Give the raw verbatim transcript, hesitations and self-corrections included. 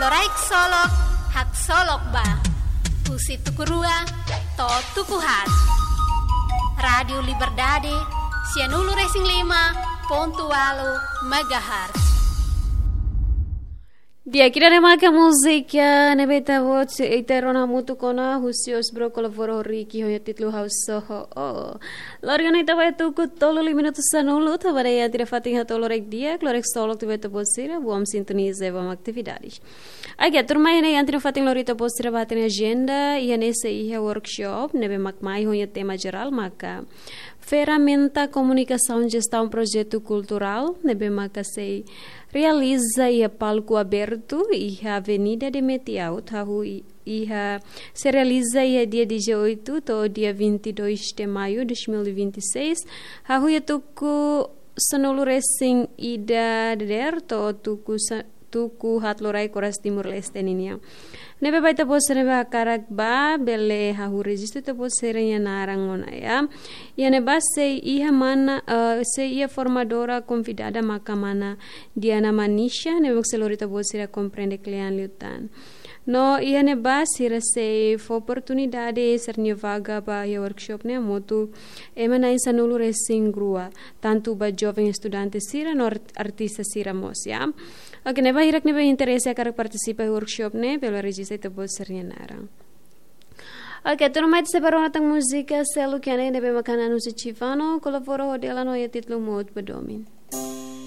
Loraik Solok, Haksolok Ba. Husi tuku rua to'o tuku haat. Rádiu Liberdade, sianulu-resin-lima pontu ualu megahertz. Di'ak, ida-ne'e maka múzika ne'ebé ita-boot, ita rona hamutuk ona husi Osbro kolabora ho Ricky ho nia títulu Ha'u Só Ho Ó. Lori ona ita ba iha tuku tolu liu minutu sanulu, tanba ne'e iha ita-nia fatin hato'o loraik di'ak, Loraik Solok tiha ba ita-boot sira, bom sintoniza i bom atividades. Oke, tuirmai ne'e iha ita-nia fatin lori ita-boot sira ba iha ita-nia ajenda, iha ne'e sei iha workshop ne'ebé mak mai ho nia tema jerál maka Ferramenta Komunikasaun Jestaun Projetu Kulturál, ne'ebé maka sei realiza iha palku abertu, iha Avenida de Metiaut, hahú i-, iha, sei realiza iha dia dezoito to'o dia vinte e dois de maio de dois mil e vinte e seis, hahú iha tuku sanulu-resin-ida dadeer to'o tuku sa-, tuku haat loraik oras Timor-Leste ninian. Ne'ebé ba ita-boot sira ne'ebé hakarak ba, bele hahú rejistu ita-boot sira-nia naran ona, ya. Iha ne'ebá sei iha mana, eh, sei iha formadora konvidada maka mana Diana Manisha, ne'ebé sei lori ita-boot sira komprende kle'an liután. No iha ne'ebá sira sei fó oportunidade sira-nia vaga ba iha workshop ne'e hamutuk ema na'in sanulu-resin-rua, tantu ba joven estudante sira no art-, artista sira mós, ya. Oke, ne'ebé hirak ne'ebé interese hakarak partisipa iha workshop ne'e, bele rejista ita-boot sira-nia naran. Oke, tuirmai ita sei ba rona tan múzika seluk iha ne'e ne'ebé maka Nanu Sechivano kolabora ho Delano iha títulu Mout ba Domin.